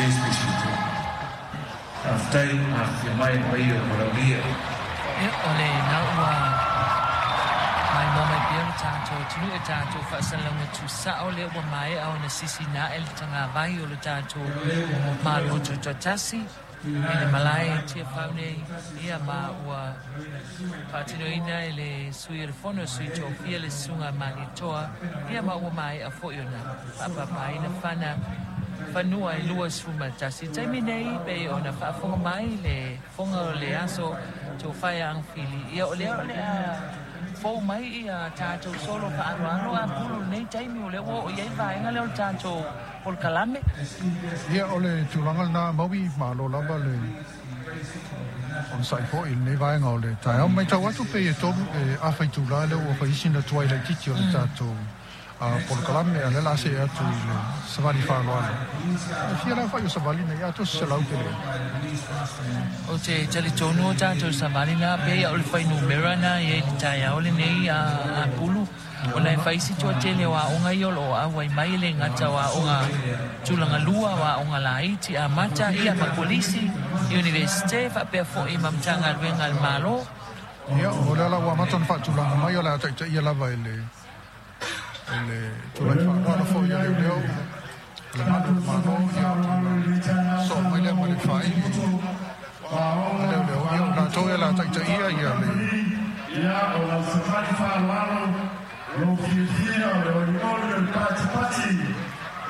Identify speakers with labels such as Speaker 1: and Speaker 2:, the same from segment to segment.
Speaker 1: Please be seated. Faafetai le afifio mai le paia o Malaulia.
Speaker 2: Ia, o lena ua maimoa mai pea lo tatou atunuu e tatou faasalalauga tuusao lea ua maea ona sisina ae le tagavai o lo tatou Malo Tutoatasi i le malae i Tiafau nei, ia ma ua faatinoina e le Sui o le Fono a Sui Tofia le Susuga a Malietoa, ia ma ua maea foi ona faapapaina fana fanua e 21. I le taimi nei, pei ona faafofoga mai le fofoga o le aso Tofaia Agafili, ia o lea o le a fou mai ia tatou solo faaaloalo a pulu i lenei taimi, o lea ua oo i ai le vaega lea o le tatou polokalame.
Speaker 3: Ia, o le tulaga lena, Maui, malo lava le onosai foi i lenei vaega o le taeao. Matau atu pei e tolu e afa itula lea ua fai sina tuai laitiiti o le tatou polokalame, a o lea o le a see atu i le savali faaaloalo. E fia le aofai o savali nei, atoa se 100 pe leai?
Speaker 2: Ou te talitonu o tatou savali na pei o le fuainumera na i ai i le taeao lenei a Pulu, ona e fai si toatele o aoga ia o lo o auai mai, e le gata o aoga tulaga lua, o aoga laiti, amata, ia ma kolisi, Iunivesite, faapea foi ma Matagaluega a le Malo.
Speaker 3: Ia, o lea la ua amata ona faatulaga mai, o le a taitaia lava e le e le tulai faaaloalo foi a leoleo o le malu o le Malo, ia ona soo mai lea ma le faaili a leoleo, ia o latou ia o le a taitaia ia le
Speaker 4: Ia, o lau savali faaaloalo, lou fiafia, o le olioli o le patipati,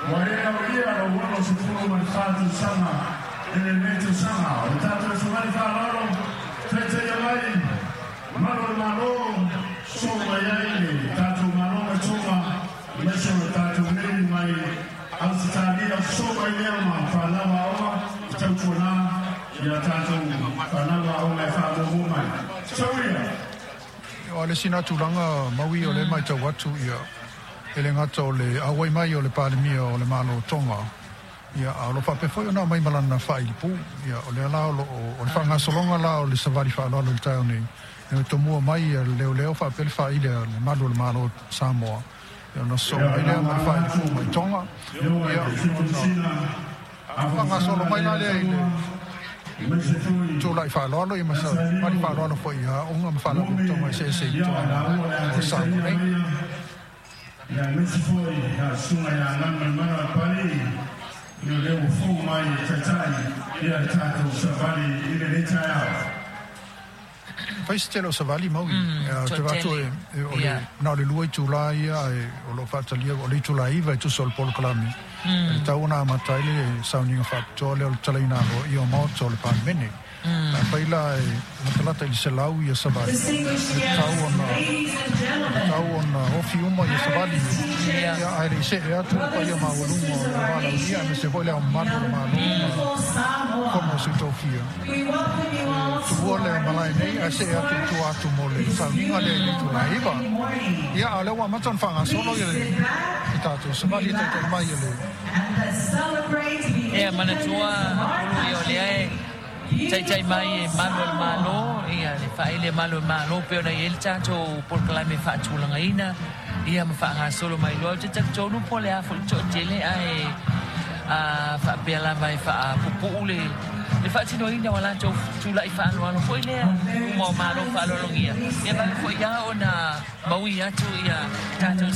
Speaker 4: ua e aulia lou 64 tausaga i lenei tausaga. O le tatou savali faaaloalo, taitaia mai malu o le Malo, soo mai ai le tatou Malo mai Tonga, aemaise o le tatou Navy mai Ausetalia, soo mai lea ma fanau aoga e tautuana ia tatou fanau aoga e faamuamua mai. Tauia!
Speaker 3: O le isi na tulaga, Maui, o lea e matau atu ia e le gata o le auai mai o le Palemia o le Malo o Tonga, ia a o lo o faapea foi ona aumai ma lana faailipu. Ia o lea la o lo o o le faagasologa la o le savali faaaloalo i le taeao nei, e tomua mai ia le leoleo faapea le faaili a le malu o le Malo o Samoa, ia ona sosoo mai lea ma le faailipu mai Tonga, ia ona faagasolo mai la lea i le tulai faaaloalo ia ma savali faaaloalo foi i aoga ma faalapotopotoga eseese i totonu o Samoa nei.
Speaker 4: Ia, aemaise foi a Susuga ia Galumalemana Papalii, ia o lea ua fou mai e taitai ia le tatou savali i lenei taeao.
Speaker 3: Fai se tele o savali, Maui. Ou te vaai atu o le, na o le lua itula ia ae o lo o faatalia, o le itula 9 e tusa o le polokalame. E tatau ona amata ai le sauniga faapitoa lea o le talaina aloaia o Maota o le Palemene. Afai la e latalata i le 100 ia savali, e tatau ona, e tatau ona ofi uma ia savali ia, ae le i see atu le paia maualuga o le valaaulia aemaise foi le Ao Mamalu o le Malo ma Fono a Sui Tofia. E tuua le malae nei ae see atu i tua atu mo le sauniga lea i le itula 9. Ia, a o lea ua amata ona faagasolo ia le tatou savali e taitai mai e le.
Speaker 2: Ia manatua Pulu ia o lea e taitai mai e malu o le Malo, ia le faaele malu o le Malo pei ona i ai le tatou polokalame faatulagaina ia ma faagasolo mai loa. Ou te talitonu po o le a foi le toatele ae a faapea lava e faapupuu le le faatinoina o a latou tulai faaaloalo foi lea uma o Malo faaaloalogia, ia vave foi lava ona maui atu ia tatou.